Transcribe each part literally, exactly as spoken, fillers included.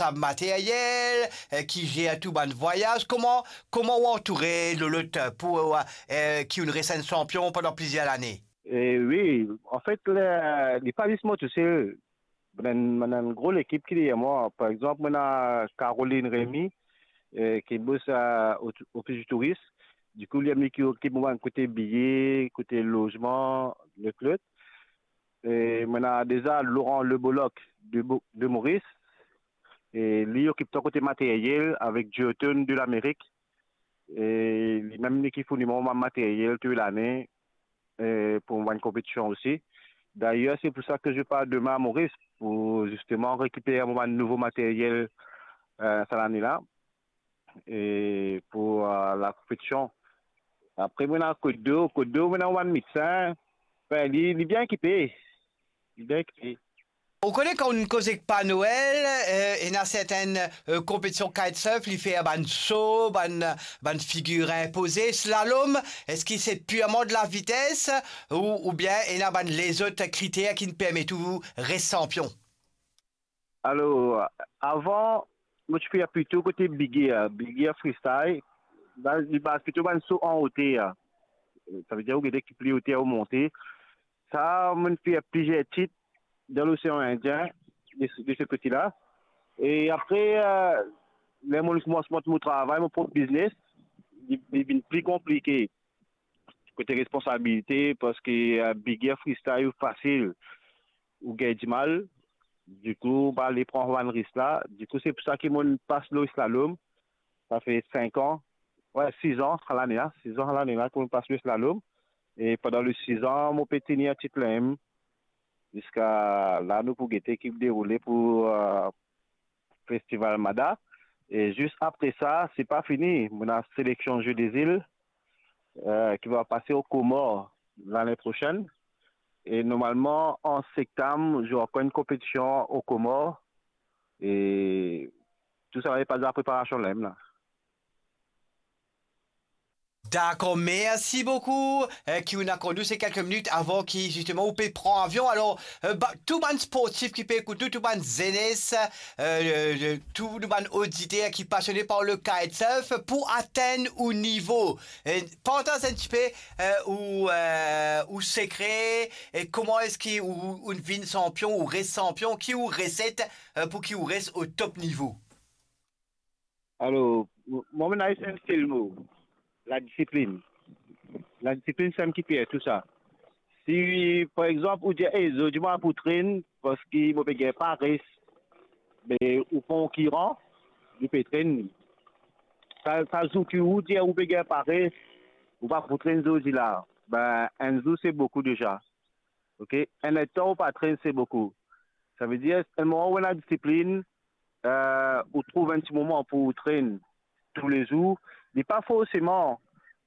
sa materyel, eh, ki zer tou bann vwayaz. Kouma, kouma ou antoure Lolot pou, eh, ki ou'nn res enn sanpion pandan plizier lane? Eh wi, anfet, li, li pa zis mwa tousel. Mo ena enn, mo ena enn gro lekip ki deryer mwa. Par exanp, mo ena Caroline Remy, eh, ki bos, eh, o, ofis di touris. Dikou, li, li ki okip mwa kote biye, kote lozman, lot, lot. E mo ena deza Laurent Le Bolloc de Bo-, de Maurice. E li okip tou kote materyel avek Duotone de Lamerik. E limem li ki fourni mwa bann materyel tou lane, eh, pou bann konpetision osi. Dayer, se pou sa ke je par demin a Moris, pou zisteman rekiper mo bann nouvo materyel, eh, sa lane la, e pou, eh, lakonpetision. Apre, mo ena Kot Dor, Kot Dor, mo ena bann medsin. Anfin, li, li bien ekipe. Li bien ekipe. Ou kone kan nou koz ek Père Noël, eh, ena sertenn, eh, konpetision kitesurf, li fer bann so, bann, bann figir inpoze, slalom, eski se pirman de la vites ou, oubien ena bann lezot kriter ki'nn permet ou res sanpion? Alor, avan, mo ti fer plito kote big air, big air freestyle. Baz, li baz plito bann so an oter. Savedir ou gete ki pli oter ou monte. Sa, mo'nn fer plizier tit dan Losean Indien, de, de se kote la. E apre, eh, ler mo'nn koumans mont mo travay, mo prop biznes, li, li vinn pli konplike kote responsabilite, parski, eh, big air freestyle ou fasil, ou gagn dimal. Dikou, mo pa le pran bann risk la. Dikou, se pou sa ki mo'nn pas lor slalom. Sa fer sink an, we, sis an sa lane la, sis an sa lane la ki mo'nn pas lor slalom. E pandan le sis an, mo pe tenir tit la mem. Ziska la, nou pou gete ki deroule pou, eh, Festival Mada. E zis apre sa, se pa fini. Mo ena seleksion Jeux des Îles, eh, ki va pase o Komor lane prosenn. E normalman, an septam, zot ankor enn konpetision o Komor. E tou sa va depann de lapreparasion la mem la. Dakor, mersi boukou, eh, ki ou'nn akord nou se kelke minit avan ki, zisteman, ou pe pran avion. Alor, eh, ba, tou bann sportif ki pe ekout nou, tou bann zenes, eh, eh, tou nou bann oditer ki pasione par le kitesurf, pou atenn ou nivo, eh, partaz enn tipe, eh, ou, eh, ou sekre, e kouma eski ou, ou vinn sanpion, ou res sanpion, ki ou reset, eh, pou ki ou res o top nivo? Alor, mo, mo ena enn sel mo, ladisiplinn. Ladisiplinn, sa mem ki fer tou sa. Si, par exanp, ou dir, "Ey, zordi mo pa pou trenn, parski mo pe gagn pares," be ou konkiran, li pe trenn. Sa, sa zour ki ou dir ou pe gagn pares, ou pa pou trenn zordi la, be, enn zour se boukou deza. Ok? Enn letan ou pa trenn, se boukou. Savedir, selman ou ena disiplinn, eh, ou trouv enn ti moman pou ou trenn toulezour. Li pa forseman,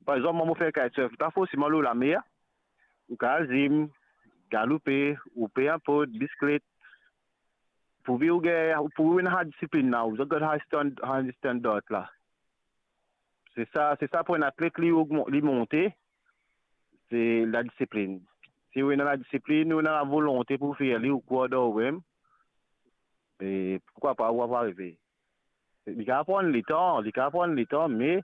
par exanp, mwa mo fer kitesurf, li pa forseman lor lamer. Ou kapav zim, galoupe, ou pe inport, bisiklet. Pourvi ou gagn, pourvi ou ena sa disiplinn la, ou zot gagn sa stand-, sa standard la. Se sa, se sa pou enn atlet li ogman-, li monte, se ladisiplinn. Si ou ena ladisiplinn, ou ena lavolonte pou fer li, ou krwar dan ou mem, e pourkwa pa, ou ava arive. Li kapav pran letan, li kapav pran letan, me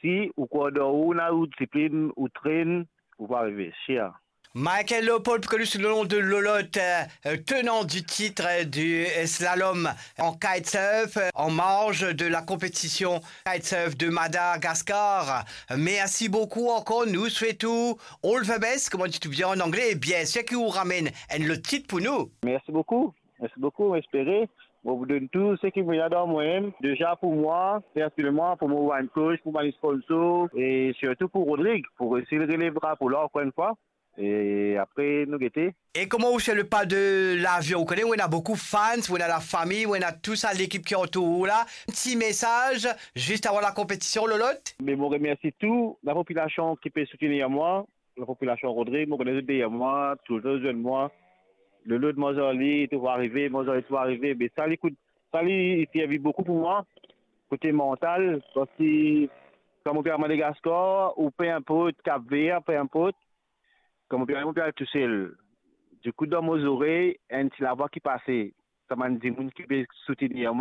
si ou krwar dan ou, ou ena ou disiplinn, ou trenn, ou pou arive, sir. Michael Leopold, plus connu sous le nom de Lolot, euh, tenant du titre du, euh, slalom en kitesurf, euh, en marge de la compétition kitesurf de Madagascar. Mersi boukou ankor, nou swet ou all the best, kouma dir tou bien an angle, e biensir ki ou ramenn enn lot tit pou nou. Mersi boukou, mersi boukou, mo espere mo pou donn tou seki mo ena dan mwa mem, deza pou mwa, personelman, pou mo bann coach, pou bann sponsor, e sirtou pou Rodrig, pou resi relev drapo la ankor enn fwa. E apre, nou gete. E kouma ou swiv le pa de lavion? Ou kone, ou ena boukou fans, ou ena lafami, ou ena tou sa lekip ki antour ou la. Ti mesaz, zis avan lakonpetision, Lolot? Me mo remersi tou lapopilasion ki pe soutenir mwa, lapopilasion Rodrig, mo kone zot deryer mwa, toultan zwenn mwa. Lolot, mo zoli, to pou arive, mo zoli, to pou arive. Me sa, li kout, sa, li, li servi boukou pou mwa, kote mantal, parski kan mo pe al Madagaskar, ou pe inport, Kap Ver, pe inport, kan mo pe al, mo pe al tousel. Dikou, dan mo zorey, enn ti lavwa ki pase. sa bann dimoun ki pe soutenir mwa,